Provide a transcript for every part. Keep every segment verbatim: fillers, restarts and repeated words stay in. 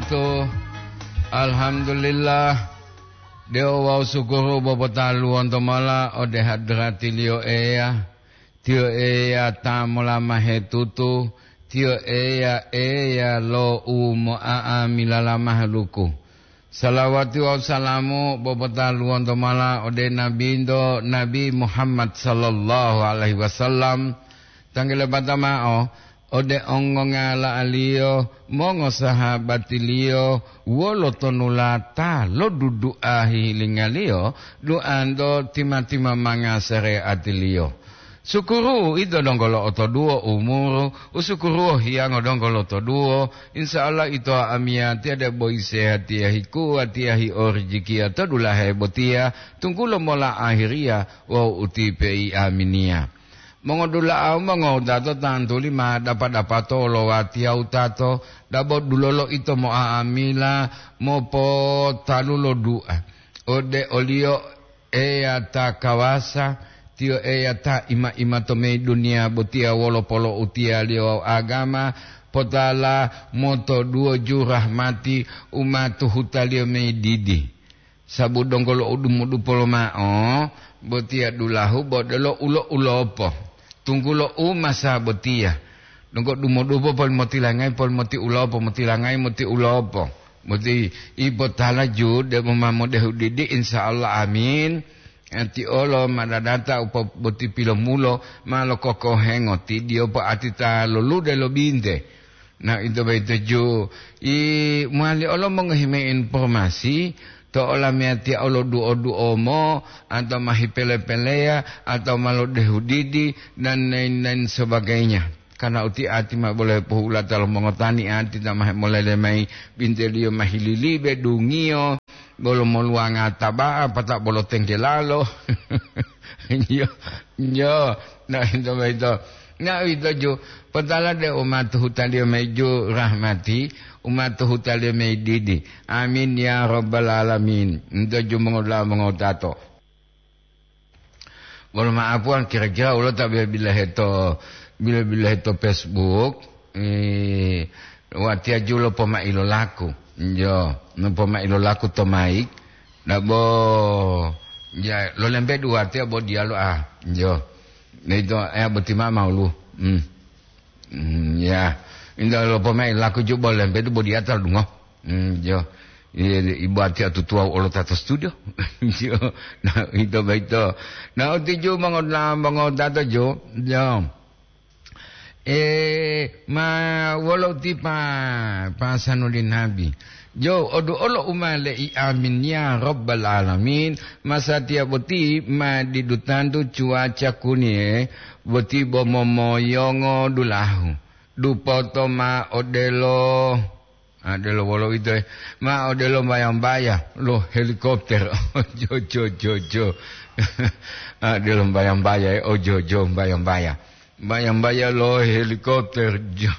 To, alhamdulillah, deo wawu sukuru bobotaluwonto mola ode hadratiliyo Eya. Tiyo Eya ta molamahe tutu, Tiyo Eya, Eya lo u mo'a'amila lamahaluku. Salawati wawu salamu bobotaluwonto mola ode Nabinto, Nabi Muhammad sallallahu alaihi wasallam. Tanggele bata mao, ode ongongala'aliyo, mongosahabatiliyo, wolo tonulata lodudu'a hihilingaliyo, duanto tima-timamanga sareatiliyo. Sukuru ito donggo lo'otoduwo umuru, usukuruwo hiyango donggo lotoduwo, insya Allah ito amiyatiya debo isehatiya hikuwatiya hiorijikiya to dulahe botiya, tunggulo mola ahiriya wawu utipe i aminiya. Mongodula'a mongowutato tantuli ma dapa-dapato lo watiya wutato, dabo dulolo ito mo'a'amila mopotalu lo du'a ode oliyo Eya ta kawasa, Tiyo Eya ta ima-ima to meyi duniya botiya wolo polo'utiyaliyo wawu agama, potala motoduwo ju rahmati u ma tuhutaliyo meyi didi. Sabu donggo lo u dumudupo lomao, botiya dulahu bo delo ulo-ulopo, tunggulo u masa botiya. Donggo dumudupo poli motilangayi, poli moti ulopo, motilangayi moti ulopo. Boti ibotala ju debo ma modehu didi, insya Allah, amin. Ati olo ma dadata upo boti pilomulo ma lokokohengo ti diyopo ati ta lolude lo binte. Na ito boyito ju, i mowali olo mongohi mayi informasi to olamiyatiya olo duo-duomo, atau ma hipele-peleya, atau ma lodehu didi, dan lain-lain sebagainya. Karena uti ati ma bolo hepohulata lo mongotani ati ta ma hemolele mayi binteliyo ma hililibe dungiyo, bolo moluwanga taba'a, pata bolo tenggelalo. Iyo, iyo. Na, ito boyito. Na, uwito ju, potala de umatuhutaliyo mayi ju rahmati, umatuhutaliyo mayi didi. Amin ya rabbal alamin. Ito ju mongodula'a mongotato. Bolo ma'apuwa, kira-kira wolo ta bila-bilahe to, bila-bilahe to Facebook, eh, watiya ju lopomai lo laku. Njo, lopomai lo laku to maik. Dabo, ya, lolembedu watiya bo diyalu, ah, njo. Neito, eh, boti ma maulu. Hmm. Hmm, ya. Inda lopomai laku ju bo lembedu bo diyatal dungo. Hmm, jo. Iye, ibu ati atutuwa olo tato studio. Jo. Na, ito boyito. Na, uti ju mongo-, na, mongotato ju. Jo. Eh, ma wolo uti pa, pasanu li nabi. Jo, odu olo umale i amin ya rabbal alamin. Masatiya boti ma didu tantu cuaca kuniye boti bo momoyongo dulahu. Dupoto ma odelo, ah, odelo wolo uwito, eh, ma odelo mbaya-mbaya lo helikopter. Jo, jo, jo, jo. Ah, odelo mbaya-mbaya, eh, oh, jo, jo, mbaya-mbaya. Mbaya-mbaya lo helikopter, jo.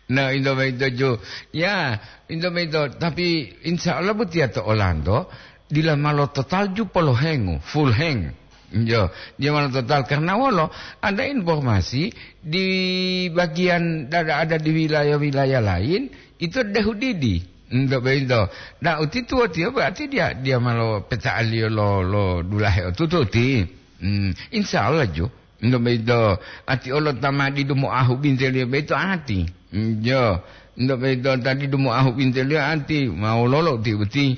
Na, ito boyito ju. Ya, ito boyito. Tapi insya Allah botiya to olanto, dila ma lo total ju polo hengu, full heng. Jo, dia ma lo total. Karena wolo, ada informasi di bagian ada, ada di wilayah-wilayah lain, itu dehu didi. Ito boyito. Nah, uti tuwo tiyo berarti dia, dia ma lo peta'aliyo lo, lo dulahe otutu ti. Hmm, insya Allah ju. Ento boyito, ati olo ta ma didu moahu binteliyo boyito ati. Jo, ento boyito ta didu moahu binteliyo ati, ma wololo ti boti?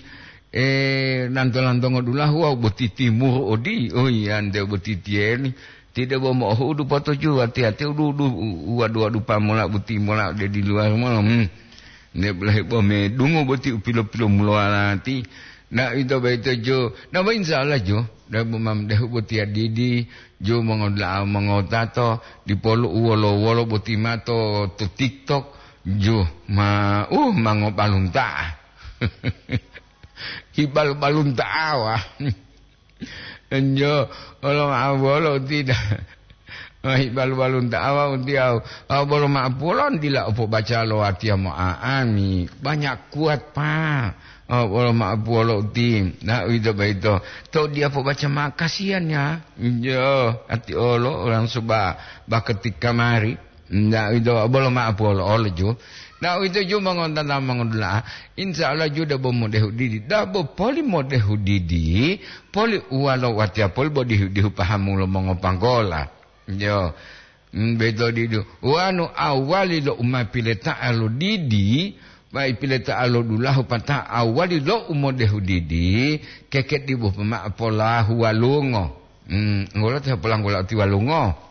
Eh, lanto-lantongo dulahu wawu boti timuru odi. Oh iya, ente boti tiyeni. Ti debo mo'ohu'udu potoju, ati-ati udu-udu, u-, uwadu-wadu pamola boti mola ode diluwar mola. Hmm. Nde bolahe bo medungo boti u pilo-pilo mulowalati. Na ito boyito jo. Na bo insya Allah jo. Debo mamdehu boti adidi. Jo mongodula'a mongotato. Dipolu u wolo-wolo boti mato to TikTok. Jo ma, uh, mangobalunta'a. Hibal-balunta'a wa. Enjo, olo ma'o bolo uti da. Wahi balu-balunta awa uti au. Au bolo ma'o pulon dila upobaca lo watiya mo'a'ami. Banyak kuat, Pak. Au bolo ma'o puwolo uti. Na, uwito boyito. To'u diya pobaca ma'o, kasihan ya. Enjo, ati olo orang suba baketika mari. Nda, ito bolo ma'o polo olo ju. Na uwito ju mongontata mongodula'a, insya Allah ju debo modehu didi. Dabo poli modehu didi, poli uwalo watiya poli bo dihu-dihu pahamu lo mongopanggola. Yo, mm, beto didu. Wanu awali lo umapileta'a lo didi, pai pileta'a lo dulahu pata awali lo umodehu didi, keke dibu pema polahu walungo. Mm, ngolo te polanggula uti walungo.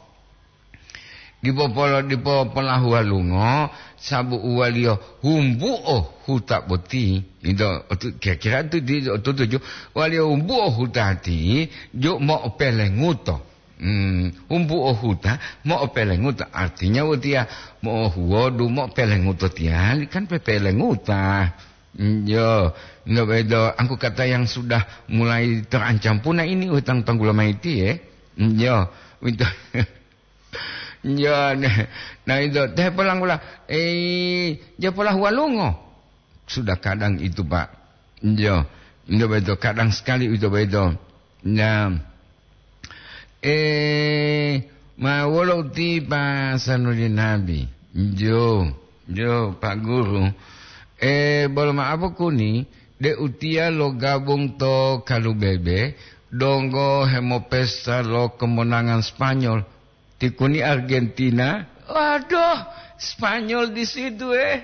Dipo polo-, dipo polahu walungo, sabu uwaliyo humbuo huta boti. Ito, otu-, kira-kira tu di, otutuju, waliyo humbuo huta ti, jo mo'opelenguto. Hmm, humbuo huta, mo'opelenguto. Artinya watiya mo'ohuwodu, mo'opelenguto tiyali, kan pepelenguta. Hmm, yo, no bedo, angku kata yang sudah mulai terancam puna ini, utang tanggula maiti, eh. Hmm, yo, itu. Ya, ne-, nah itu, teh polanggula, eh, dia polahu walungo. Sudah kadang itu, Pak. Ya, itu betul. Kadang sekali itu betul. Nah, eh, ma wolo uti Pak Sanudin Nabi. Jo, jo, Pak Guru. Eh, bolo ma'apo kuni, de utia lo gabung to Kalubebe, donggo hemopesta lo kemenangan Spanyol. Tikuni Argentina, waduh, Spanyol di situ, eh.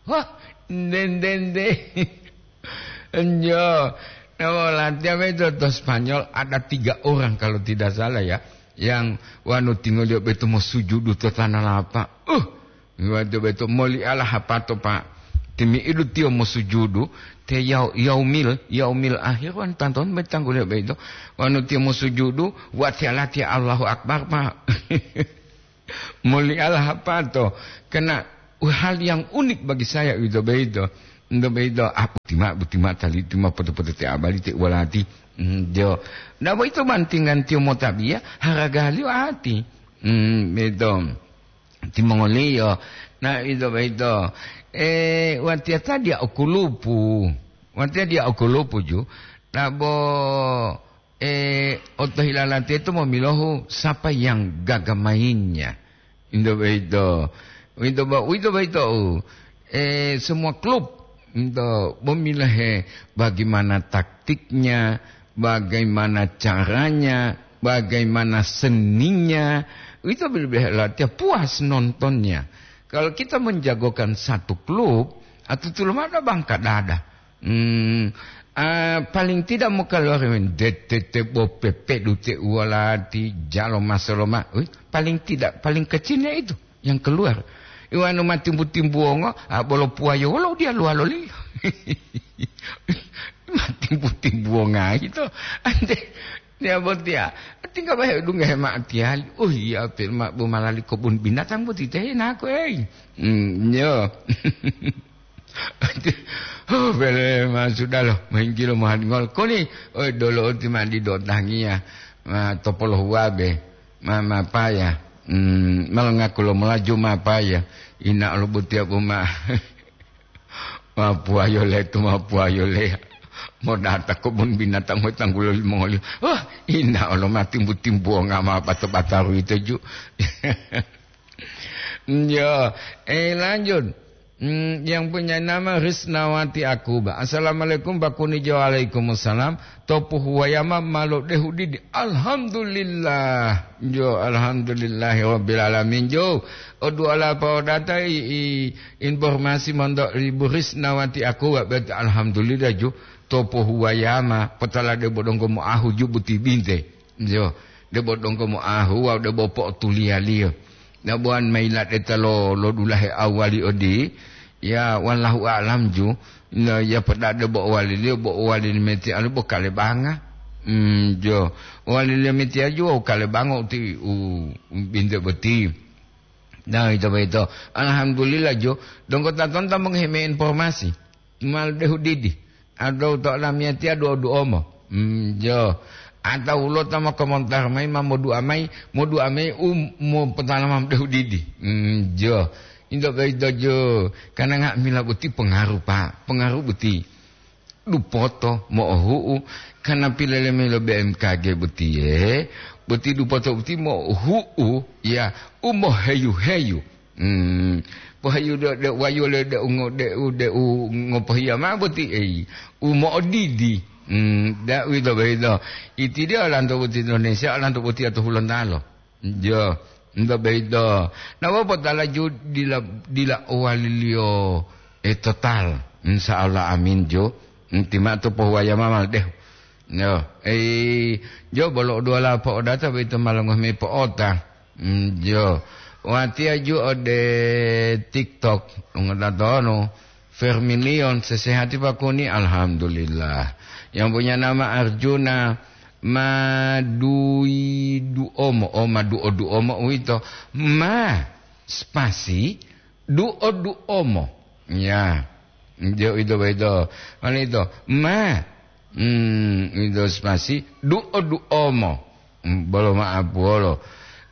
Wah, nde, nde, nde. Enjo. Nah, latihan itu to Spanyol ada tiga orang kalau tidak salah ya, yang wanu tinggal dia betul mau sujudu to tanah lapang. Uh, Wato beto moli ala hapato, Pak. Timi'idu tiyo mosujudu, te yau-, yaumil, yaumil akhir wan tanton betangguliyo beito. Wanu tiyo mosujudu, watiya latiya Allahu Akbar, Pak. Moli ala hapato. Karena hal yang unik bagi saya itu beito. Itu beito, ah, butima, butima tali, tima poto-poto te abali te walati. Hmm, jo. Nah, beito bantingan tiyo motabiya, haragaliyo ati. Hmm, beito. Timongoliyo. Na ito boyito, eh, watiya ta diya okulupu. Watiya diya okulupu ju, na bo, eh, otohilala teto momilohu sapa yang gaga mainnya. Ito boyito. Ito bo-, ito boyito, eh, semua klub ito momilohe bagaimana taktiknya, bagaimana caranya, bagaimana seninya, itu lebih latihan puas nontonnya. Kalau kita menjagokan satu klub, atau tulumada bangka dada. Hmm, ah, paling tidak mau keluar dete te bo pepedu te uwalati, jalo masoloma. Wih, paling tidak, paling kecilnya itu yang keluar. Iwanu matimbu-timbuwongo, ah, bolo puwayo wolo diyaluwaloliyo. Matimbu-timbuwonga ito. Ante, niya botiya. Tingga bahe dunga hema'atiyali. Oh iya, pe ma-, bo malali kobun binatang boti te nako, ei. Hmm, yo. Oh, bele ma sudah lo, mahinggilo mohadingol. Koni, oi, dolo oti ma didotangiya. Ma topolo huwabe. Ma, mapaya. Hmm, malongaku lo molaju mapaya. Ina olo botiya bo ma. Mapuwayo leto, mapuwayo leya. Modata kobun binatang motanggulo limongoliyo. Wah, ina olo matimbu-timbuwonga ma bato-bataru ito ju. Yo, eh, lanjut. Hmm, yang punya nama Risnawati Akuba. Assalamualaikum, Bakuni Jo. Waalaikumsalam. To pohuwayama ma lodehu didi. Alhamdulillah. Jo, alhamdulillahi rabbil alamin. Jo, o du'a la paodata i, i informasi monto Ibu Risnawati Akuba, bet alhamdulillah jo. To pohuwayama, potala debo donggo moahu jo boti binte. Jo, debo donggo moahu, wawu debo po'otuliyaliyo. Na bo wanu ma yiladeta lo, lo dulahe awwali odi, ya, wallahu a'lam ju, na ya podade bo waliliyo, bo walili metiyalu bo kalebanga. Hmm, jo. Waliliyo metiya ju wawu kalebanga uti u, u binte boti. Na, ito boyito. Alhamdulillah ju, donggo tatonta mongohi mayi informasi. Mal dehu didi. Ado to lamiyatiya duo-duomo. Hmm, jo. Atau lo ta mokomontar mayi ma modu'a mayi, modu'a mayi u mopotalama dehu didi. Hmm, jo. Into boyito jo. Karena nga'amila boti pengaruh, Pak. Pengaruh boti. Dupoto mo'ohu'u. Karena pilele mayi lo B M K G botiye. Boti dupoto boti mo'ohu'u. Ya, u moheyu-heyu. Hmm. Pohayudo de wayole de ungo de u de u ngopohiya mao boti ei. U mo'odidi. Hmm. Da uwito boyito. Iti dia olanto boti Indonesia, olanto boti ato Hulontalo. Jo, nto boyito. Na wopotala ju dila, dila owaliliyo e total. Insya Allah, amin jo. Nti mao to pohuwaya mama dehu. Yo, ei, jo bolo uduwala po'odata boyito ma longohi mayi po'ota. Mm, jo. Watiya ju ode TikTok, ngota tonu. Fermilion, sesehati pakuni, alhamdulillah. Yang punya nama Arjuna, Madui Duomo, oh, Maduo Duomo uwito. Ma, spasi, Duo Duomo. Ya. Jo, ito boyito. Mane ito? Ma. Hmm, ito spasi. Duo Duomo. Hmm, bolo ma'apuwolo.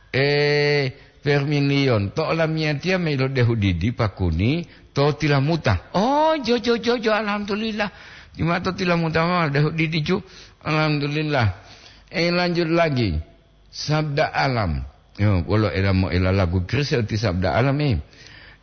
Eh, Fermilion, to olamiyatiya ma ilodehudidi pakuni to tilamuta. Oh, jo, jo, jo, jo, alhamdulillah. Juma to tilamuta ma dehudidi ju. Alhamdulillah. Eh, lanjut lagi. Sabda Alam. Yo, wolo ela mo ela lagu Kristen ti Sabda Alam, eh.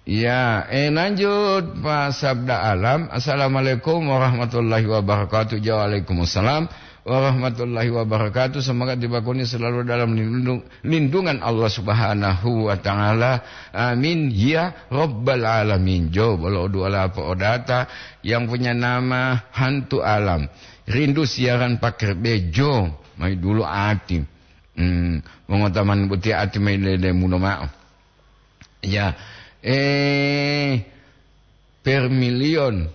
Ya, eh, lanjut, Pak Sabda Alam. Assalamualaikum warahmatullahi wabarakatuh. Ja, waalaikumsalam warahmatullahi wabarakatuh. Semoga tiba kuni selalu dalam lindung-, lindungan Allah Subhanahu wa Ta'ala. Amin ya Rabbal Alamin. Jo, bolo dua lapo odata yang punya nama Hantu Alam. Rindu siaran pakai bejo, mai dulu ati. Hmm, mongotaman boti ati mai lelemulo ma'o. Ya, eh, Permilion,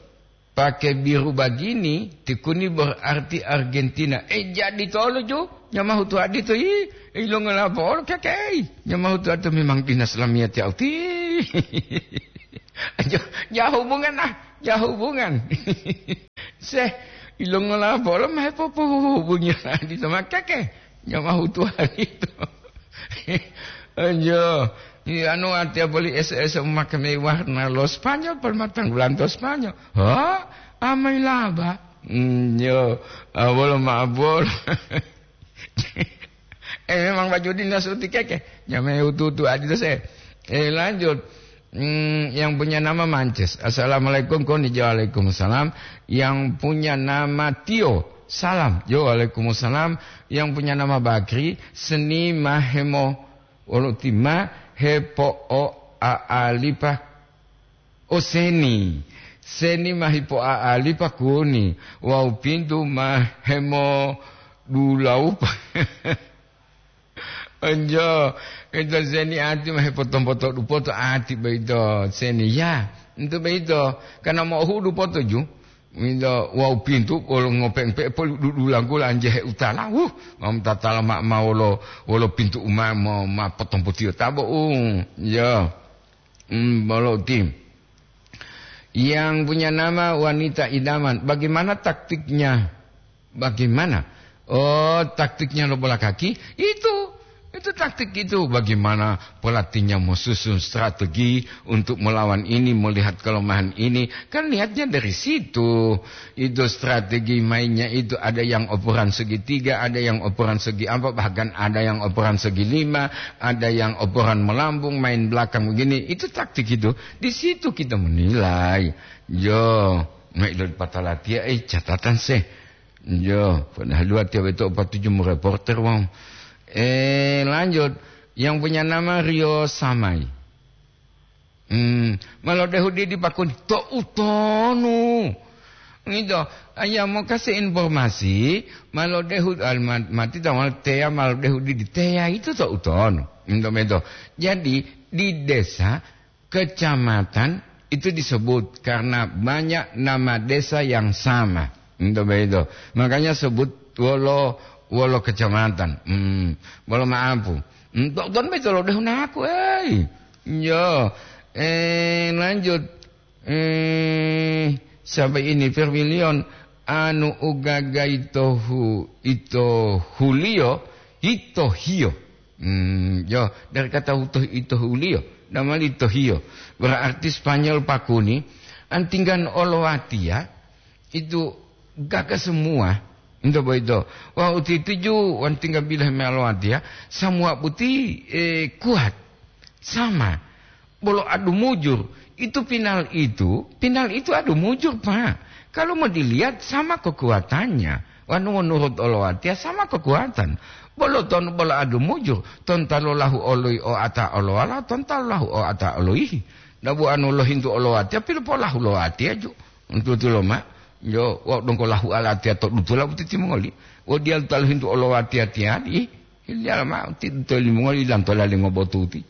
pakai biru bagini, tikuni berarti Argentina. Eh, jadi tolo ju, nyamahu tu adito yi, ilongo lapolo kekei. Nyamahu tu adito memang dinas lamiyati auti. Jo, ja hubungan ah, ja hubungan. Seh, ilongola bolo ma hepopohubungi adito ma keke, nyamahu tuwalito. Anjo, i anu atiya boli S S make mayi warna lo Spanyol, pol matanggulanto Spanyol. Ha? Amai laba. Nyo, a, bolo ma bolo. Eh, memang baju dinas uti keke. Nyamai utu-utu adito se. Eh, lanjut. Hmm, yang punya nama Mances. Assalamualaikum, koni. Jo, waalaikumsalam. Yang punya nama Tio. Salam. Jo, waalaikumsalam. Yang punya nama Bakri, seni mahemo wolo tima hepo o a alipa. O seni. Seni mahipo a alipa kuni. Wawu pintu mahemo dulaupa. Onjo, ito seni ati ma hepoto-poto dupoto ati boyito seni. Ya, ito boyito, karena mo'ohu'u dupoto ju. Ito wawu pintu bolo ngopeng pe poli dudulanggu lanjehe utala. Wuh, mam tatala ma, ma wolo, wolo pintu uma mo, ma potompotiyo tabo, u, ya. Hmm, bolo tim. Yang punya nama wanita idaman. Bagaimana taktiknya? Bagaimana? Oh, taktiknya lo bola kaki? Itu, itu taktik itu. Bagaimana pelatihnya mau susun strategi untuk melawan ini, melihat kelemahan ini? Kan niatnya dari situ. Itu strategi mainnya itu, ada yang operan segitiga, ada yang operan segi apa, bahkan ada yang operan segi lima, ada yang operan melambung, main belakang begini. Itu taktik itu. Di situ kita menilai. Jo, mai lo patalatia, eh, catatan seh. Jo, padahal dua tiap itu empat tujuh reporter, wong. Eh, lanjut. Yang punya nama Rio Samai. Hmm, ma lodehu didi pakuni to utonu. Ngito, aya mo kasi informasi, ma lodehu, al-, ma-, mati tawal teya ma lodehu didi teya itu to utonu. Ngito meto. Jadi, di desa, kecamatan itu disebut karena banyak nama desa yang sama. Ngito begitu. Makanya sebut wolo, wolo kecamatan. Hmm, wolo maapu. Hmm, to utonu beto lodehu naku, ei. Yo, eh, lanjut. Eh, sampai ini Vermilion, anu ugaga ito hu-, ito huliyo, ito hiyo. Hmm, yo, dari kata utoh ito huliyo, namanya ito hiyo. Berarti Spanyol pakuni, antinggan olowatia, itu gaga semua. Ito boyito. Wah, uti tuju, antinggan bilah me olowatia, semua buti, eh, kuat. Sama. Bolo adu mujur, itu pinal itu, pinal itu adu mujur, Pak. Kalau mau dilihat, sama kekuatannya. Wanu menurut olowatiya, sama kekuatan. Bolo ton, bolo adu mujur, ton talu lahu oloi o ata olowala, ton talu lahu o ata oloihi. Dabu anu lohintu olowatiya, pilopolahu lowatiya ju. Untu tulo ma, yo, wa dongko lahu alatiya to dutula butiti mongoli. Wo diyalu talu hintu olowatiya tiyadi. Hiliya mao ti to limongoli lantola lingobotuti.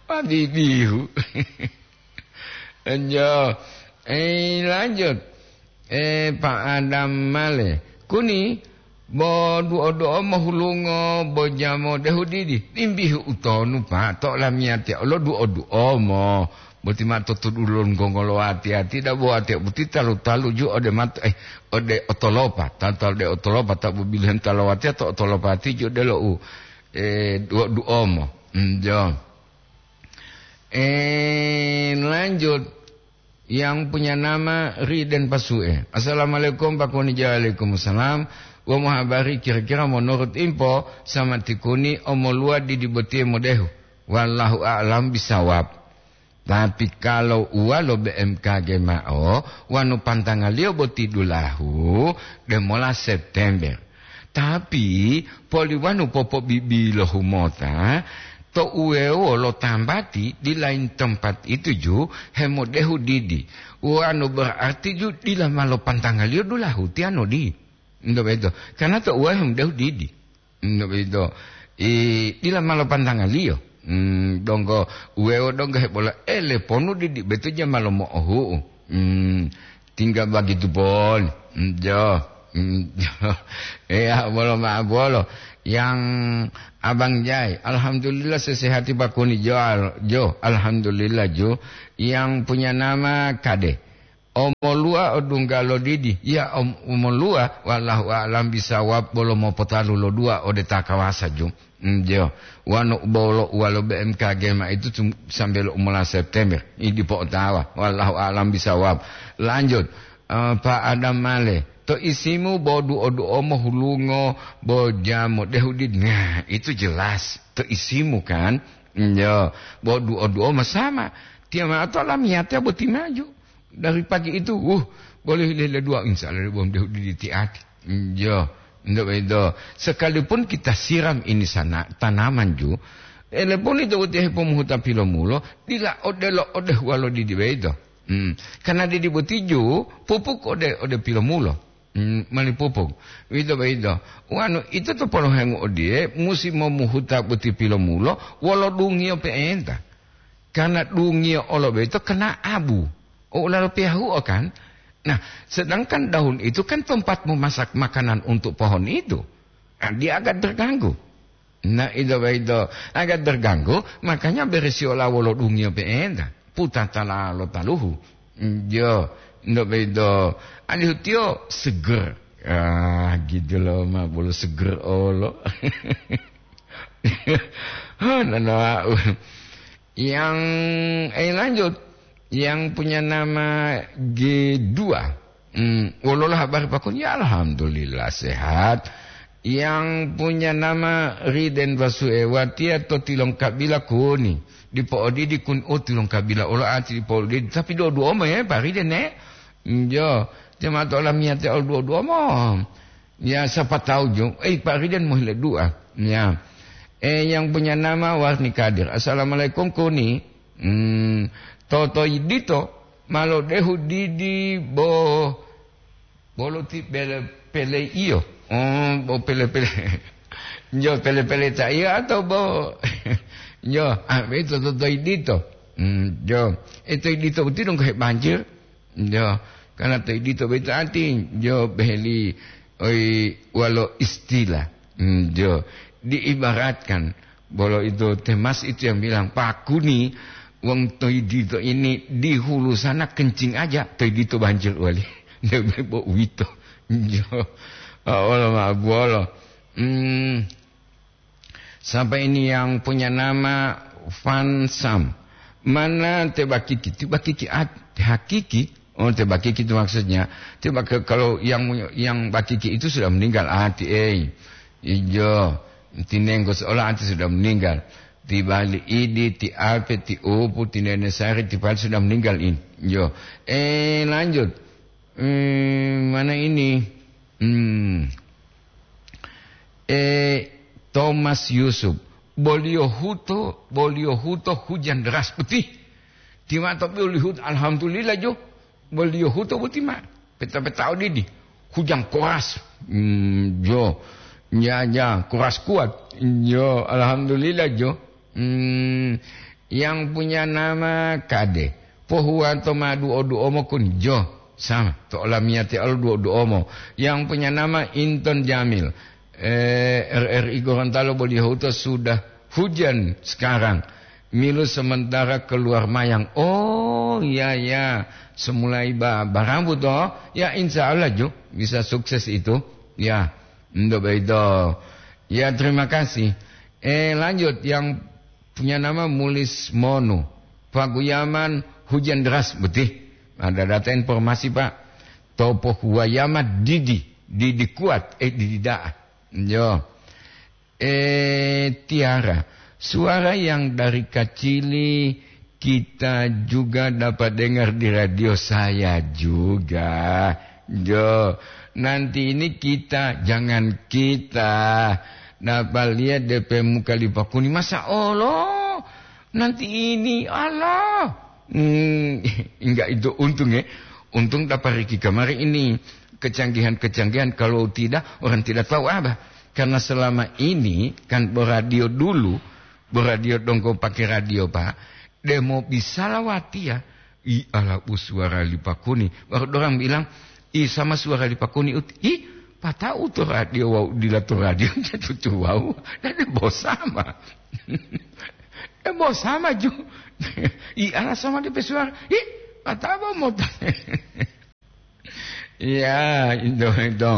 Pabibihu. Enjo. Eh, lanjut. Eh, Pak Adam Male. Kuni, bo duo-duo mohulungo, bo jamo dehu didi. Imbihu utonu, Pak. To lamiyatiya olo duo-duo mo. Boti ma to tudulon gongolo ati-ati, dabo ati boti talu-talu ju ode mat-, eh, ode otolopa, talu-talu de otolopa, tabu bilhen talawatiya to otolopa ati ju de lo u, eh, duo-duomo. Hmm, jo. Eh, lanjut. Yang punya nama Riden Pasue. "Assalamualaikum, Pak Kuni." "Waalaikumsalam. Wa mohabari kira-kira menurut info sama tikuni omoluwa didi botiye modehu. Wallahu a'lam bisawab." Tapi kalau uwalo B M K G mao, wanu pantangaliyo boti dulahu, demola September. Tapi, poliwanu popobibilohu mota, to uwewo lo tambati di lain tempat itu ju hemodehu didi. Wanu berarti ju dila malo pantangaliyo dulahu tiyano di. Ndo beto. Karena to uwewo hemodehu didi. Ngo'uwito, i, dila malo pantangaliyo. Hmm, donggo, uwewo donggo hebola, ele ponu didi betu ja malo mo'ohu'u. Hmm, tinggal begitu pon. Hmm, jo. Hmm, jo. Iya, bolo ma'o bolo. Yang Abang Jai, alhamdulillah sesehati Pak Kuni jo, al-, jo. Alhamdulillah jo. Yang punya nama Kade. Omoluwa odunggalo didi, ya om-, omoluwa, wallahu a'lam bisawab, bolo mopotalu lo dua ode ta kawasa ju. Mm, jo. Wanu bolo uwalo B M K G ma itu tum-, sambe lo umola September, i dipo otawa, wallahu a'lam bisawab. Lanjut, eh, Pak Adam Male, to isimu bo duo-duo mohulungo, bo jamo dehu didi. Nah, itu jelas, to isimu kan? Mm, jo. Bo duo-duo ma sama. Tiya ma'o to lamiyatiya boti maju. Dari pagi itu, uh, boleh lele dua, insya Allah, bom dehu didi tiati. Iya, ndak begitu. Sekalipun kita siram ini sana, tanaman ju, ele pun itu uti hepomuhuta pilomulo, dila odelo ode huwalo didi begitu. Hmm. Karena didi boti ju, pupuk ode, ode pilomulo. Hmm, mali pupuk. Begitu, begitu. Wanu, itu to polohengu odiye, musi momuhuta boti pilomulo, wolo dungiyo pe'enta. Karena dungiyo olo boyito kena abu. O ulalo piyahuo kan? Nah, sedangkan daun itu kan tempat memasak makanan untuk pohon itu. Nah, dia agak terganggu. Nah, itu, itu agak terganggu, makanya beresi ola wolo dungiyo pe'enta. Putatala lo taluhu. Yo, ndo bedo. Alihu tiyo seger. Ah, gitu loh, ma bolo seger olo. Oh, nanawa. Yang, eh, lanjut. Yang punya nama G dua. Hmm, wololah habari Pak Kun? Ya, alhamdulillah, sehat. Yang punya nama Riden Basue, watiya to tilongkabila Kuni. Dipo'odidi Kun, oh, tilongkabila olo ati dipo'odidi. Tapi duo-duo mo, ya, Pak Riden, eh. Njo, jemaat olamiyate ol duo-duo mo. Ya, siapa tahu, jo. Eh, Pak Riden mohile dua. Ya. Eh, yang punya nama Warni Kadir. Assalamualaikum, Kuni. Hmm, toto dito, malo dehu didi bo, bolo ti pele, pele iyo. Oh, bo pele-pele. Jo, pele-pele ta iyo atau bo, jo, ah, itu toto dito. Hmm, jo. Itu dito betul dong kayak banjir. Jo, karena to idito boyito ati, jo, beheli, oi, walo istilah. Hmm, jo, diibaratkan, bolo itu Temas itu yang bilang, "Pak Kuni, wong to idito ini di hulu sana kencing aja, to idito banjir wali." Debe bo uwito. Jo, olo ma buolo. Hmm, Siapa ini yang punya nama Fansam? Mana te bakiki? Te bakiki at-, te hakiki? Oh, te bakiki itu maksudnya. Te bak-, kalau yang, yang bakiki itu sudah meninggal, ati, eh. Ijo, tinenggo seolah ati sudah meninggal. Ti Bali Idi, ti Ape, ti Upu, ti Nene Sari, ti Pali sudah meninggal ini. Yo. Eh, lanjut. Hmm, mana ini? Hmm. Eh, Thomas Yusuf. Boliyo huto, boliyo huto hujan deras putih. Timato boliyo huto, alhamdulillah jo. Boliyo huto boti ma. Peta-peta odidi. Hujan keras. Hmm, jo. Ya, ya, keras kuat. Jo, alhamdulillah jo. Hmm, yang punya nama Kade. Pohuwato ma duo-duomo kun jo. Sama. To olamiyate olo duo-duomo. Yang punya nama Inton Jamil. Eh, R R I Gorontalo boliyo huto sudah hujan sekarang. Milu sementara keluar mayang. Oh, ya, ya. Semulai ba-, barambu toh. Ya, insya Allah ju bisa sukses itu. Ya, untuk itu. Ya, terima kasih. Eh, lanjut. Yang punya nama Mulis Monu. Paguyaman hujan deras, betul. Ada data informasi, Pak. Topo huwayama didi. Didi kuat. Eh, didi da'a. Yo. Eh, Tiara, suara yang dari kacili kita juga dapat dengar di radio saya juga. Jo, nanti ini kita, jangan kita, dapat lihat D P muka Lipakuni. Masa Allah, nanti ini, Allah. Hmm, enggak itu untung ya. Untung dapat Riki kemarin ini kecanggihan-kecanggihan. Kalau tidak, orang tidak tahu apa. Karena selama ini kan beradio dulu, beradio dongko pakai radio, Pak. Demo bisa lawatiya. I ala u suara Lipakuni. Baru orang bilang, "I sama suara Lipakuni ut." I, patau to radio wau dila to radio tutu wau. Dan bosama. Eh, bosama ju. I ala sama di pesuara. I, patau mau. Ya, itu, itu.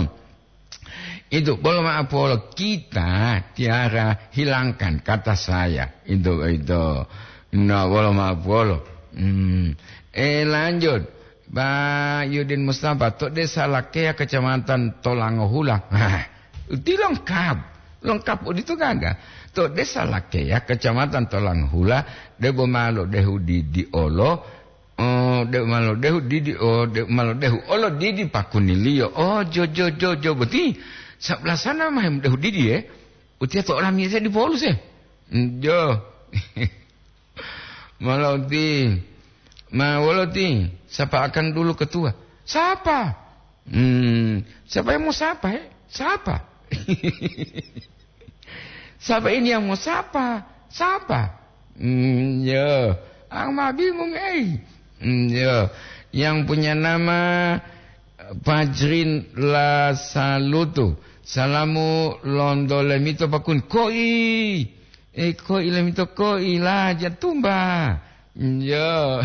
Itu, bolo maaf, bolo. Kita, Tiara, hilangkan kata saya. Itu, itu. Nah, bolo maaf, bolo. Hmm. Eh, lanjut. Pak Yudin Mustafa, to Desa Lakea, Kecamatan Tolangohula. Hah, itu lengkap. Lengkap, itu gaga. To Desa Lakea, Kecamatan Tolangohula, debo malo dehu di, di olo, Oh, de malo dehu didi, oh, de malo dehu olo didi pakuniliyo. Oh, jo, jo, jo, jo, boti. Sabelah sana mah dehu didi, eh. Utia to olamiyasa di Paulus, eh. Jo. Malah uti. Ma wolo ti, sapa akan dulu ketua? Siapa? Hmm, siapa yang mau sapa, eh? Siapa? Siapa ini yang mau sapa? Siapa? Hmm, ya. Ang ma bingung, eh. Hmm, ya. Yang punya nama, eh, Fajrin Lasalutu. Salamu lonto lemito pakun. Koi. Eh, koi lemito koi la jatumba. Hmm, ya.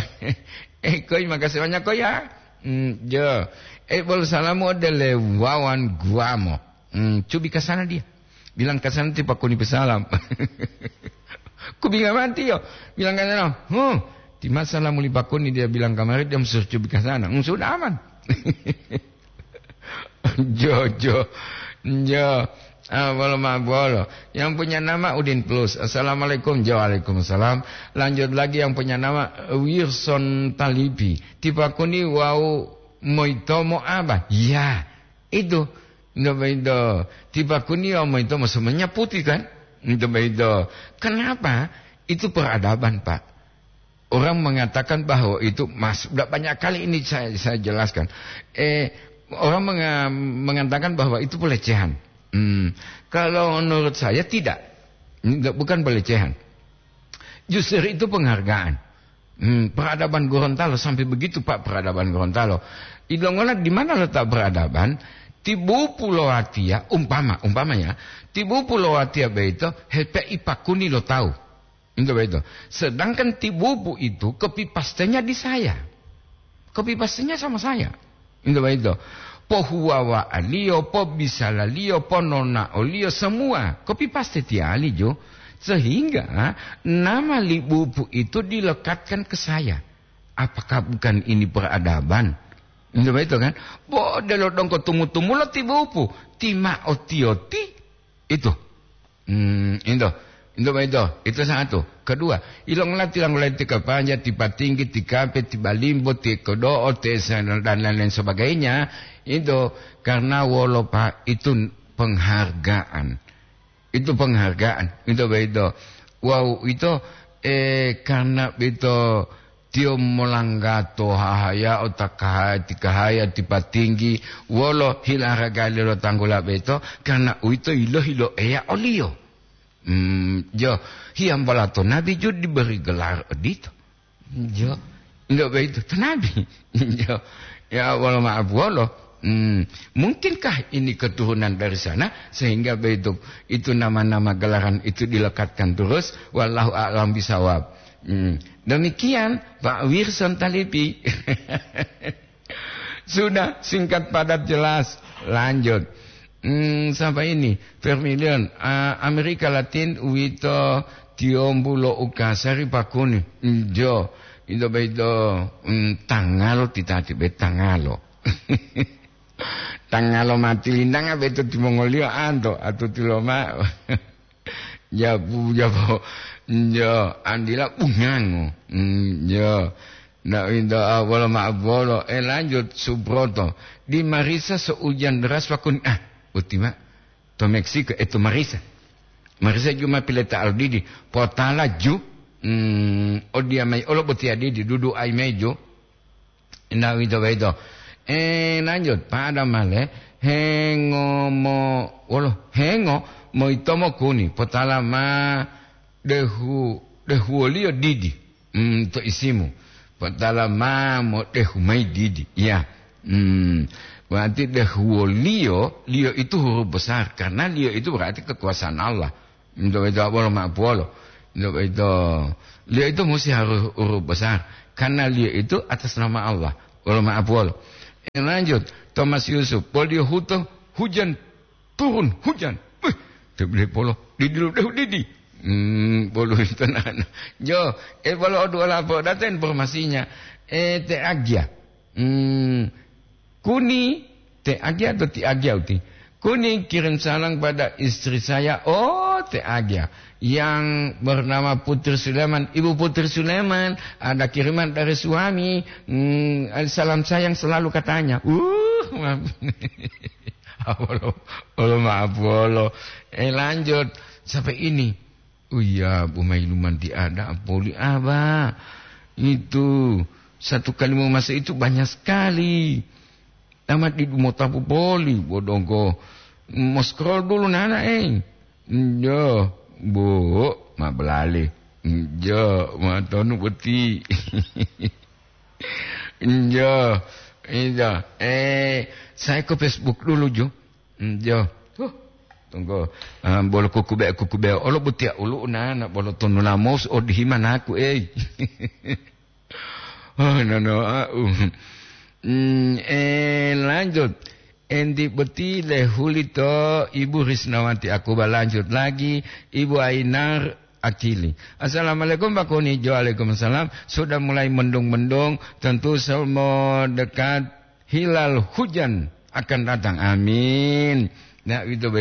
Eh, koi, makasih banyak, koi, ya. Hmm, ya. Eh, bol salamu ode le wawan guamo. Hmm, cubi ka sana dia. Bilang ka sana ti pakuni pesalam. Kubinga mati yo. Bilang ka sana, "Huh, ti masa la muli pakuni," dia bilang kamari, dia musuh cubi ka sana. Hmm, sudah aman. Jo, jo. Jo. Ah, bolo ma bolo. Yang punya nama Udin Plus. "Assalamualaikum." Jo, waalaikumsalam. Lanjut lagi yang punya nama Wilson Talipi. Ti pakuni wau moitomo aba? Ya, itu. Nto baido. Ti pakuni wau moitomo semuanya putih kan? Nto baido. Kenapa? Itu peradaban, Pak. Orang mengatakan bahwa itu mas-, udah banyak kali ini saya, saya jelaskan. Eh, orang menga-, mengatakan bahwa itu pelecehan. Hmm, kalau menurut saya tidak. Enggak, bukan pelecehan. Justru itu penghargaan. Hmm, peradaban Gorontalo sampai begitu, Pak, peradaban Gorontalo. Ilongola di mana letak peradaban? Tibu pulo atia, umpama, umpamanya, tibu pulo atia beito, hepe ipakuni lo tahu. Itu begitu. Sedangkan Tibupu itu copy paste-nya di saya. Copy paste-nya sama saya. Itu begitu. Pohuwawaaliyo, pobisalaliyo, pononaoliyo, semua copy paste tiyali jo. Sehingga nama Libupu itu dilekatkan ke saya. Apakah bukan ini peradaban? Itu begitu kan? Bo delo dongko tumu-tumu lo Tibupu, ti ma oti-oti. Itu. Hmm, itu. Itu begitu, itu satu. Kedua, ilongola tilanggula ti kapanja, ti patinggi, ti kape, ti balimbo, ti kodo'o, ti se-, dan lain-lain sebagainya, itu karena wolo, Pak, itu penghargaan. Itu penghargaan, itu begitu. Wow, itu, eh, karena itu tiyo molanggato hahayao, takahaya, tikahaya, ti patinggi, wolo hila haraga lo tanggula beto, karena uwito yilohi lo Eya oliyo. Hmm, jo, hiyambola to nabi ju diberi gelar odito. Jo, enggak begitu, to nabi. Jo, ya, wolo maaf wolo. Hmm, mungkinkah ini keturunan dari sana sehingga begitu itu nama-nama gelaran itu dilekatkan terus? Wallahu a'lam bisawab. Hmm, demikian Pak Wirson Talipi. Sudah, singkat, padat, jelas. Lanjut. Hmm, sampai ini, Vermilion, ah, Amerika Latin uwito tiyombu lo ukasari pakuni. Hmm, jo, ito beito, hmm, tangalo titati be tangalo. Tangalo mati lindanga beto timongoliyo anto, atuti loma. Jabu, jabo. Jo, andila bungango. Hmm, jo. Ndak winto, ah, wolo ma'o bolo. Eh, lanjut, Subroto. Di Marisa seujan deras wakun-, ah, boti ma. To Meksiko, eh, to Marisa. Marisa juma pileta aldidi. Potala ju. Hmm, odia mai, olo boti adidi, dudu ai mai ju. Ndak winto boyito. Eh, lanjut, pada male, hengo mo, wolo, hengo mo itomo kuni, potala ma dehu, dehuwoliyo didi, mm, to isimu. Potala ma mo dehu mayi didi. Ya. Hmm. Berarti dehuwoliyo, liyo itu huruf besar. Karena liyo itu berarti kekuasaan Allah. Nto boyito wolo ma'o puwolo. Nto boyito, liyo itu musi harus huruf besar. Karena liyo itu atas nama Allah. Wolo ma'o puwolo. Eh, lanjut. Thomas Yusuf. Poliyo huto, hujan. Turun, hujan. Wih, tebele polo. Didi lo dehu didi. Hmm, bolo itu nana. Jo, eh, bolo o duo lapo. Data informasinya. Eh, te agia. Hmm, kuni te agia atau ti agia uti. Kuni kirim salam pada istri saya. Oh, te agia. Yang bernama Putri Sulaiman. Ibu Putri Sulaiman, ada kiriman dari suami. Hmm, salam sayang selalu katanya. Uh, wolo, wolo maaf, wolo. Eh, lanjut. Sampai ini. Oh iya, Bu Mailuman tiada poli aba. Itu satu kali memasa itu banyak sekali. Amat di motapu poli, bodongko. Mau scroll dulu nana, eh. Njo, Bu, ma belali. Njo, ma tonu beti. Njo, iya. Eh, saya ke Facebook dulu, Jo. Njo. Huh. Tunggu. Ah, bolo kukube, kukube. Olo butia ulu na, na bolo tonu lamos o dihimanaku, eh. Oh, no, no, ah, uh. Hmm, eh, lanjut. Endi boti lehuli to Ibu Risnawati Akuba, lanjut lagi, Ibu Ainar Akili. Assalamualaikum, Pak Koni. Waalaikumsalam. Sudah mulai mendung-mendung, tentu semua dekat hilal hujan akan datang. Amin. Nah, itu baik.